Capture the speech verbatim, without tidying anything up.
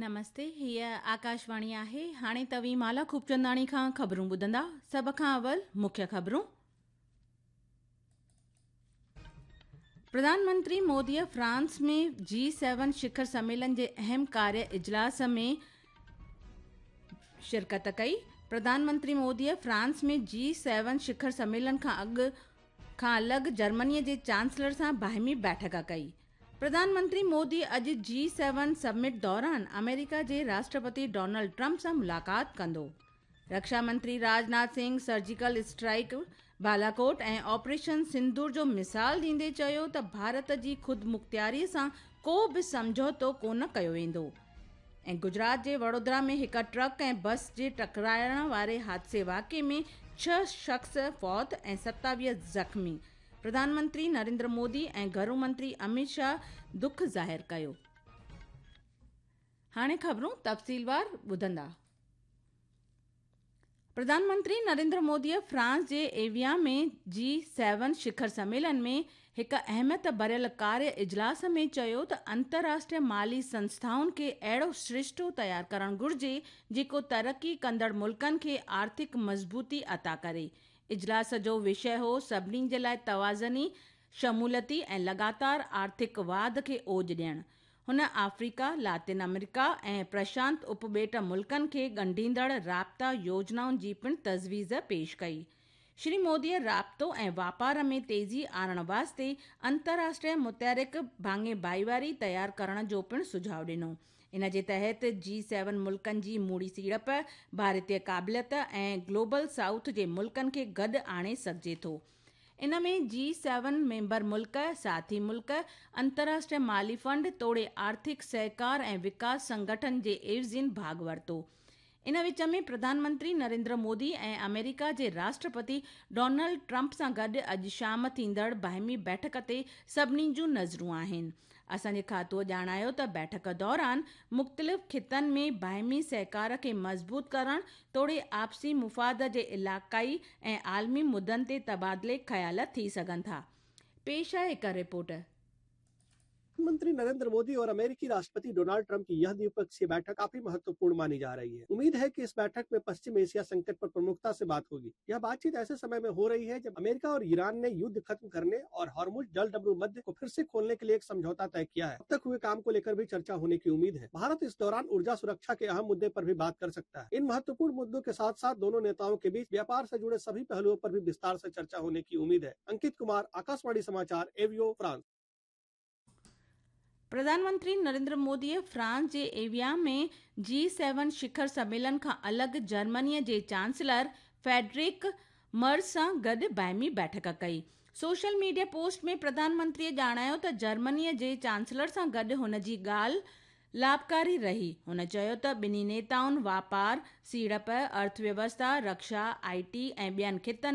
نمستي، هيءَ آڪاشواڻي آهي. هاڻي توهين مالا خوبچنداڻي کان خبرون ٻڌندا. سڀ کان اول مکيه خبرون. پرڌان منتري موديءَ فرانس ۾ جي سيون شکر سميلن جي اهم ڪاريه اجلاس ۾ شرڪت ڪئي. پرڌان منتري موديءَ فرانس ۾ جي سيون شکر سميلن کان اڳ کان الڳ جرمنيءَ جي چانسلر سان باهمي بيٺڪ ڪئي. پرڌان منتري مودي اڄ جي سيون سمٽ دوران آمريڪا جي راشٽرپتي ڊونلڊ ٽرمپ سان ملاقات ڪندو. رڪشا منتري Rajnath Singh surgical strike, Balakot ۽ operation sindoor جو مثال ڏيندي چيو ته ڀارت جي خودمختياريءَ سان ڪو به سمجهوتو ڪونه ڪيو ويندو. ۽ گجرات جي وڊودرا ۾ هڪ ٽرڪ ۽ بس جي ٽڪرائڻ واري حادثي واقعي ۾ ڇهه شخص فوت ۽ ستاويهه زخمي. پرڌان منتري نريندر مودي ۽ گهرو منتري امت شاهه دک ظاهر ڪيو. هاڻي خبرون تفصيلوار ٻڌندا. پرڌان منتري نريندر موديءَ فرانس جي ايويان ۾ جي سيون شکر سميلن ۾ هڪ اهميت ڀريل ڪاريه اجلاس ۾ چيو ته انترراشٽريه مالي سنسٿائن کي اهڙو سرشتو تيار ڪرڻ گهرجي جيڪو ترقي ڪندڙ ملڪن کي آرٿڪ مضبوطي عطا ڪري. اجلاس جو وشيه هو سڀني جي لاءِ توازني، شموليتي ۽ لڳاتار آرٿڪ واڌ کي اوج ڏيڻ. هن آفريڪا، لاطين آمريڪا ۽ پرشانت اپٻيٽ ملڪن کي ڳنڍيندڙ رابطا يوجنائن جي پڻ تجويز پيش ڪئي. شري موديءَ رابطو ۽ واپار ۾ تيزي آڻڻ واسطي انترراشٽريه متحرڪ ڀاڱي ڀائيواري تيار ڪرڻ جو پڻ سجهاءُ ڏنو. ان جي تحت جي سيون ملڪن جي موڙي سيڙپ، ڀارتيه قابليت ۽ گلوبل سائوٿ جي ملڪن کي گڏ آڻي سگهجي ٿو. ان ۾ جي سيون ميمبر ملڪ، ساٿي ملڪ، انترراشٽريه مالي فنڊ توڙي آرٿڪ سهڪار ۽ وڪاس سنگٺن جي عيوضين ڀاڳ ورتو. ان وچ ۾ پرڌان منتري نريندر مودي ۽ آمريڪا جي راشٽرپتي ڊونلڊ ٽرمپ سان گڏ اڄ شام ٿيندڙ باهمي بيٺڪ تي سڀني جون نظرون آهن. اسان جي کاتوءَ ڄاڻايو ته بيٺڪ دوران مختلف خطن ۾ باهمي سهڪار کي مضبوط ڪرڻ توڙي آپسي مفاد جي علائقائي ۽ عالمي مدعن تي تبادلي خيال ٿي سگهن ٿا. پيش آهي هڪ رپورٽ. प्रधानमंत्री नरेंद्र मोदी और अमेरिकी राष्ट्रपति डोनाल्ड ट्रंप की यह द्विपक्षीय बैठक काफी महत्वपूर्ण मानी जा रही है। उम्मीद है कि इस बैठक में पश्चिम एशिया संकट पर प्रमुखता से बात होगी। यह बातचीत ऐसे समय में हो रही है जब अमेरिका और ईरान ने युद्ध खत्म करने और हॉर्मुज जलडमरू मध्य को फिर से खोलने के लिए एक समझौता तय किया है। अब तक हुए काम को लेकर भी चर्चा होने की उम्मीद है। भारत इस दौरान ऊर्जा सुरक्षा के अहम मुद्दे पर भी बात कर सकता है। इन महत्वपूर्ण मुद्दों के साथ साथ दोनों नेताओं के बीच व्यापार से जुड़े सभी पहलुओं पर भी विस्तार से चर्चा होने की उम्मीद है। अंकित कुमार, आकाशवाणी समाचार, एवियो, फ्रांस। प्रधान मंत्री नरेंद्र मोदीअ फ्रांस जे एविया में जी सेवन शिखर सम्मेलन खां अलॻि जर्मनीअ जे चांसलर फेडरिक मर्ज़ सां गॾु बाहिमी बैठक कई. सोशल मीडिया पोस्ट में प्रधानमंत्रीअ ॼाणायो त जर्मनीअ जे चांसलर सां गॾु हुन जी ॻाल्हि लाभकारी रही. हुन चयो त ॿिन्ही नेताउनि वापार, सीड़प, अर्थव्यवस्था, रक्षा, I T ऐं ॿियनि ख़ितनि में